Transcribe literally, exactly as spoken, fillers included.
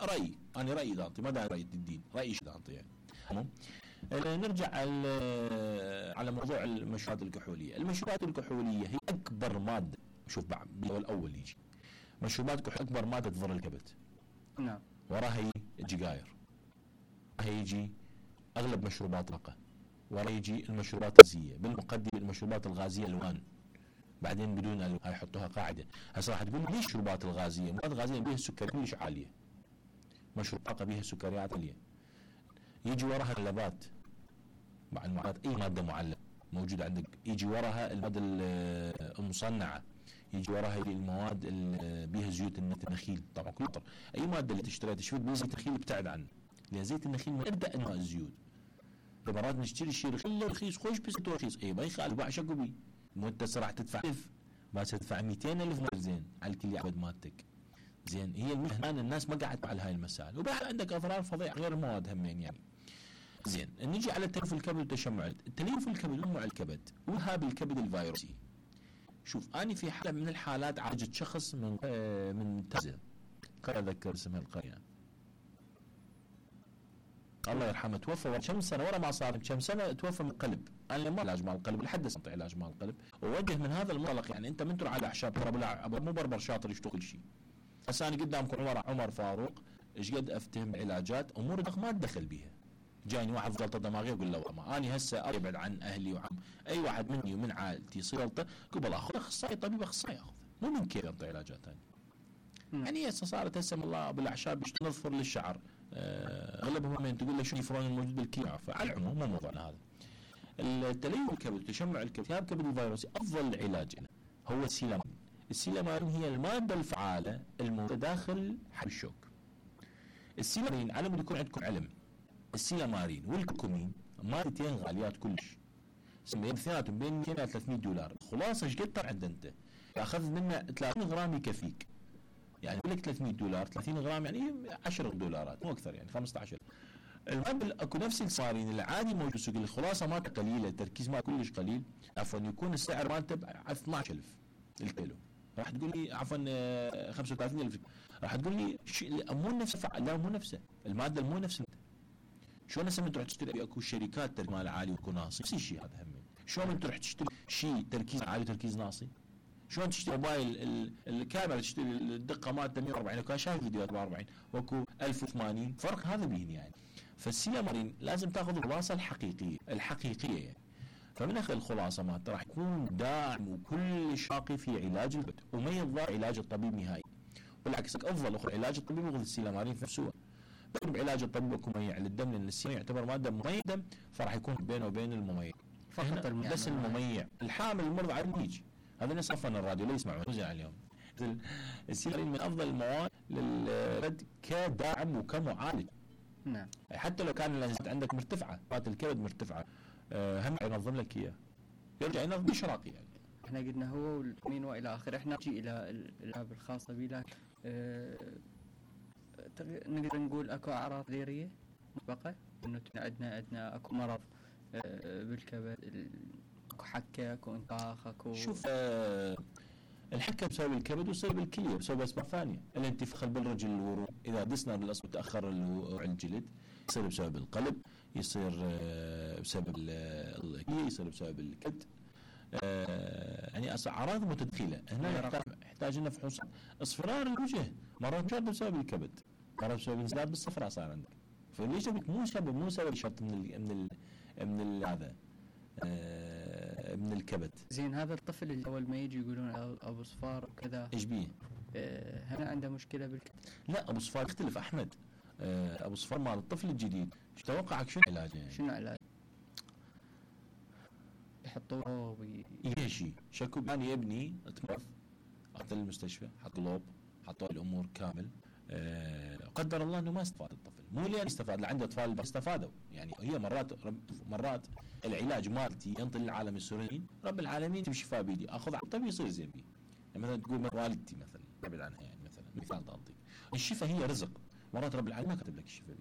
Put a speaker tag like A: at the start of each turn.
A: رايي انا رايي اذا انطي ما داعي راي الدين رايي اذا انطي يعني. تمام. نرجع على موضوع المشروبات الكحوليه. المشروبات الكحوليه هي اكبر ماده، شوف بعد الاول يجي مشروبات كحوليه اكبر ماده تضر الكبد.
B: نعم.
A: وراها يجي السجاير، وراها يجي اغلب مشروبات الطاقه، وراها يجي المشروبات الغازيه، بالمقدمه المشروبات الغازيه الوان، بعدين بدون الوان هاي يحطوها قاعده. هسه راح تقول ليش المشروبات الغازيه؟ المشروبات الغازيه بها السكريات كلش عاليه، مشروب طاقه بها سكريات عاليه. يجي وراها اللبات مع المعلبات، اي ماده معلبه موجوده عندك، يجي وراها الماده المصنعه، يجي وراها المواد اللي بها زيوت النخيل. طبعا كل طر. اي ماده اللي تشتريها تشوف بها زيت النخيل ابتعد عنه، لان زيت النخيل من ابدا انواع الزيوت. مرات نشتري شيء رخيص خوش بس رخيص، اي ما يخالف باع شكو بي، مو انت راح تدفع ألف ما تدفع مئتين ألف زين على الكل يعبد مالتك. زين هي المهنه الناس ما قاعد على هاي المسائل، وبعد عندك اضرار فظيعه غير المواد همين يعني. زين نجي على تليف الكبد والتشمع. التليف الكبد ومع الكبد والهاب الكبد الفيروسي. شوف اني في حاله من الحالات عالجت شخص من آه من تازه، قرية اذكر اسمها القريه، الله يرحمه، توفى كم سنه ورا ما صار كم سنه توفى من القلب. انا ما علاج مع القلب لحد هسه علاج مع القلب، ووجه من هذا المنطلق يعني انت من تروح على اعشاب ترى مو بربر شاطر يشتغل كل شيء. هسه انا قدامكم عمر عمر فاروق ايش قد افتهم علاجات امور ما ادخل بيها. جايني واحد جلطه دماغيه اقول له ما اني هسه ابعد عن اهلي وعم اي واحد مني ومن عائلتي يصير جلطه قبل اخذ اخصائي طبيب اخصائي اخذ، مو من كيف يعطي علاجات ثانيه. يعني هسه صارت هسه الله بالاعشاب نظفر للشعر اغلبهم من تقول له شو الفرون الموجود بالكلى. فعلى العموم مو موضوعنا هذا. التليف الكبد تشمع الكبد التهاب الكبد الفيروسي افضل علاج هو السيلامين. السيلامين هي الماده الفعاله الموجوده داخل حب الشوك. السيلامين على مود يكون عندكم علم، السيلامارين والكركمين مادتين غاليات كلش، اثنيناتهم بين مئتين إلى ثلاثمئة دولار. خلاصه ايش قد طلع انت؟ اخذ منه ثلاثين غرام يكفيك، يعني يقول لك ثلاثمئة دولار ثلاثين غرام يعني عشرة دولارات مو اكثر يعني خمسة عشر. المهم اكو نفس السيلامارين العادي موجود السوق، الخلاصه مالته قليله، التركيز مالته كلش قليل، عفوا يكون السعر مالته ب اثنعش ألف الكيلو. راح تقول لي عفوا خمسة وثلاثين ألف، راح تقول لي مو نفسه، لا مو نفسه الماده مو نفسه. شلون هسه من تروح تشتري اكو شركات تركيز مال عالي واكو ناصي، نفس الشيء هذا هم. شلون من تروح تشتري شيء تركيز عالي وتركيز ناصي؟ شلون تشتري موبايل الكاميرا تشتري الدقه مالته مئة وأربعين، اكو شايف فيديوهات أربعة وأربعين واكو ألف وثمانين، فرق هذا بين يعني. فالسيلامارين لازم تاخذ الخلاصه الحقيقيه الحقيقيه يعني. فمن اخذ الخلاصه مالته راح يكون داعم وكل شاقي في علاج الكبد وما يضر علاج الطبيب نهائي. بالعكس افضل اخذ علاج الطبيب واخذ السيلامارين في نفسه. بعلاج الطبيب اكو مميع للدم، لان السيلامارين يعتبر ماده مميع دم، فراح يكون بينه وبين المميع فقط بس المميع. الحامل المرضى على النيج هذا الناس صفنا الراديو لا يسمعون وزع اليوم. السيلامارين من افضل المواد للكبد كداعم وكمعالج.
B: نعم.
A: حتى لو كان الانزيمات عندك مرتفعه، مات الكبد مرتفعه، أه هم ينظم لك اياه، يرجع ينظم بشراقي يعني.
B: احنا قلنا هو والمين والى اخره. احنا نجي الى الالعاب الخاصه بي، أه نقدر نقول اكو اعراض غيريه مسبقه انه عندنا عندنا اكو مرض أه بالكبد، اكو حكه اكو انتفاخ اكو.
A: شوف أه الحكه بسبب الكبد وبسبب الكليه بسبب اسباب ثانيه. الانتفاخ بالرجل الورم اذا دسنا بالاصبع تاخر الجلد يصير بسبب القلب، يصير بسبب الكليه، يصير بسبب الكبد. يعني اعراض متداخله. هنا يحتاج يحتاج لنا فحوص. اصفرار الوجه مرات مش بسبب الكبد، مرات بسبب انسداد بالصفراء صار عندك. فليش مو سبب مو سبب شرط من ال من ال من هذا آه من الكبد.
B: زين هذا الطفل اللي اول ما يجي يقولون ابو صفار وكذا
A: ايش بيه؟
B: آه هل عنده مشكله بالكبد؟
A: لا ابو صفار يختلف احمد. آه ابو صفار مال الطفل الجديد ايش توقعك شنو علاجه يعني؟
B: شنو علاج؟ يحطوه وي...
A: يشي شكو يعني ابني اتمرض اخذ المستشفى حط قلوب حطوا الامور كامل. أه قدر الله انه ما استفاد الطفل، مو لين استفاد، عنده اطفال بس استفادوا يعني. هي مرات مرات العلاج مالتي ينطي للعالم السوريين رب العالمين تمشي شفاء بيدي اخذ على الطبيب يصير زين بي. يعني مثلا تقول والدتي مثلا ابعد عنها يعني مثلا مثال تعطيك الشفاء هي رزق، مرات رب العالمين ما كتب لك الشفاء.